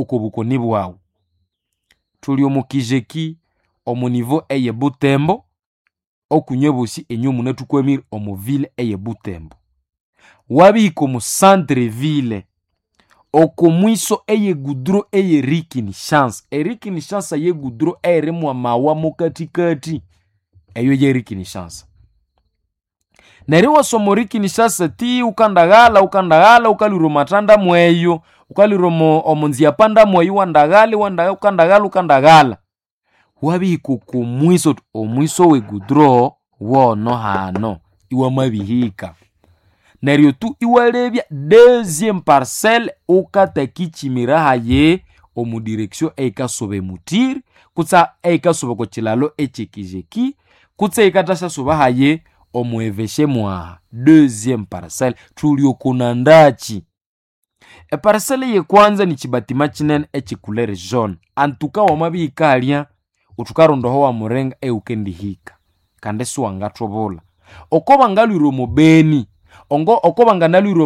oko bukoni bwawu. Thuli omo Kijeki omo niveau eye Butembo, okunywe bosi enywe munathukwamire omo ville eye Butembo. Wabihika omo centre ville oko mwiso eye goudron eye Rikinshasa. Erikinshasa ye goudron eyirimu amawa mokathikathi, eyo ye Rikinshasa. Neryo iwasoma Rikinshasa ti wukandaghala wukandaghala wukalwira omo mweyo, wukalwira omo nziyapanda mweyo iwandaghala iwandaghala wukandaghala wukandaghala. Wabihika oko mwiso thuthi omwiso we goudron wono hano, iwamabihika. Neryo tu iwalebya deuxième parcelle wukatakikyimira hayi omu direction eyikasuba emutiri kutse eyikasuba oko kyilalo ekyekijeki kutse eyikathasyasuba hayi omu eveshe mwaha, deuxième parcelle. Thuli oko nandakyi. Eparcelle eyekwanza nikyibatima kyinene ekyecouleur jaune. Antuka wamabihika halya wuthi wukaronda aho wamuringa ewukendihika kandi isiwangathubulha. Oko bangalhwira omo Beni, oko banganalhwira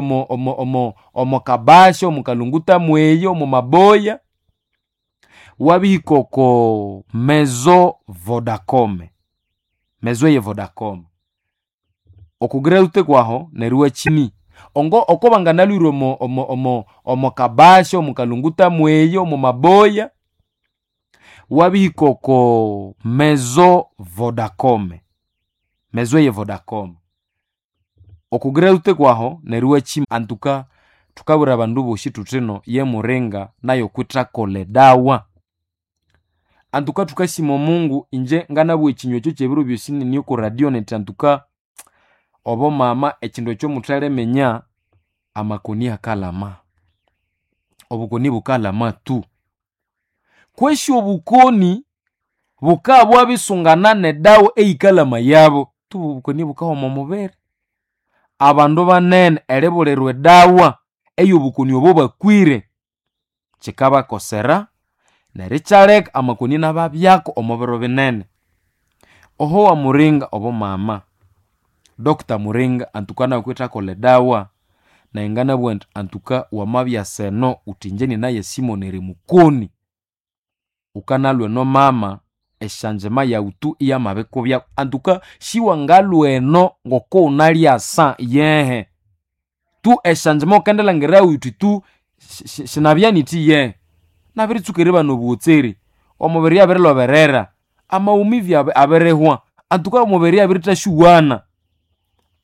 omo Kabasha, omo Kalunguta mweyo, omo Maboya, wabihika oko maison Vodacom, maison eye Vodacom. Okugirahute kwaho neryo iwakyimi. Oko banganalhwira omo Kabasha, omo Kalunguta mweyo, omo Maboya, wabihika oko maison Vodacom, maison eye Vodacom. Okugirahute kwaho neryo iwakyima. Antuka thukabwira abandu bosi thuthino ye Muringa nayo kwithakolha edawa. Antuka thukasima Omungu inje nganabugha ekinywa ekyo kyebiro byosi nini oko radio nethi antuka obo mama ekindu ekyo muthaliminya amakoni akalama. Obukoni bukalama tu. Kwesi obukoni bukabya nedawa eyikalamayabo tu obukoni bukahoma omubiri. Abandu banene eribulirwa edawa eyobukoni obo bakwire kyikabakosera neryo ikyaleka amakoni inababyako omo biro binene. Oho wamuringa obo mama, Doctor Muringa antuka nawe kwithakolha edawa, nayi nganabugha indi antuka wamabyasa eno wuthi inje ninaye Simon eri mukoni, wukanalwa eno mama esyanjima yawu tu iyamabikubyako. Antuka siwangalhwa eno ngoko wunalyasa yehe, tu esyanjima wukendilhangira wuthi tu sinabya nithi yehe. Nabiritsuka eribana obuhotseri, omubiri abirilhoberera, amaumivu abirihwa, antuka omubiri abirithasyuwana.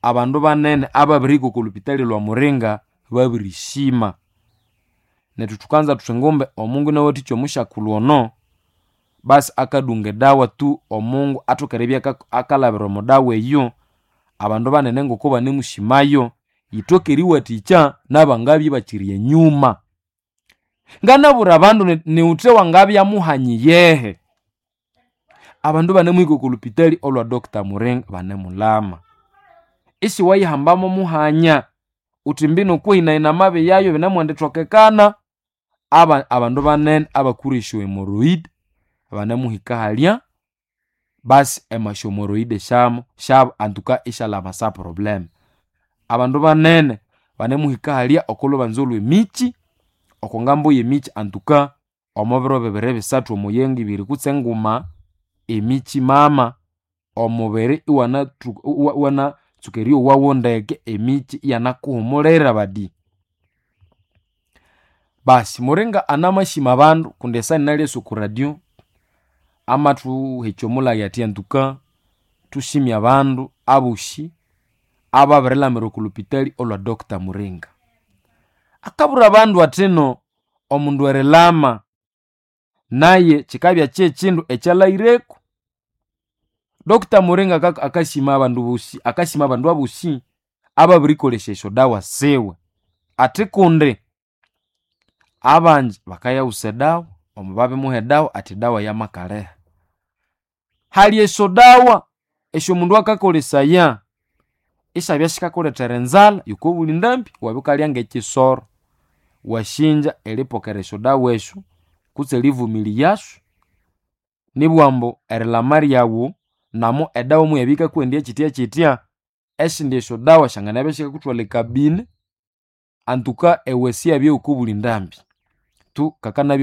Abandu banene ababirihika oko lhupitali lwa Muringa babirishima. Nethu thukanza thuthi ngumbe Omungu inawathikya omusyakulhu ono, basi akadunga edawa tu Omungu athoke eribya akalhabira omo dawa eyo, abandu banene ngoko banemusimayo, yithoke eriwathikya nabangabya ibakyiri enyuma. Nganabwira abandu niwuthe wangabya muhanyi yehe. Abandu banemuhika oko lhupitali olwa Doctor Muringa banemulama. Isiwayihambamo muhanya wuthi mbino kwehina amabi yayo binemwendithokekana. Abandu banene abakwire esyo hemorrhoid banemuhika halya, basi emasyo hemorrhoid syabo antuka isyalhaba sa problem. Abandu banene banemuhika halya oko lhubanza olhwemikyi, oko ngambo yemikyi antuka omo biro bibiri bisathu omo yenga ibiri kutse nguma, emikyi mama omubiri iwanatsuka eryowawo ndeke emikyi iyanakuhumulira badi. Basi Muringa anamasima abandu kundi esaha ninalyasa oko radio, amathuhekya omulhaghi athi antuka thusime abandu abosi ababirilhamira oko lhupitali olwa Doctor Muringa. Akabwira abandu athino omundu erilhama naye kyikabya kyekyindu ekyalhayireku. Doctor Muringa akasima abandu bosi, akasima abandu abosi ababirikolesya esyodawa siwe. Athi kundi abangi bakayaghutsa edawa, omu babimuha edawa athi edawa yamakaliha. Hali esyodawa esyomundu akakolesaya isyabya sikakulethera enzalha yokobuli ndambi iwabya wukalya ngekyisoro. Wasinja eripokera esyodawa esyo kutse erivumiliyasyo, nibugha ambu erilhama ryawu namo edawa muyabya yikakuwendya kyityakyitya, esindi esyodawa syanganabya isikakuthwalha ekabini, antuka ewe siyabya yokobuli ndambi. Tu kakanabya.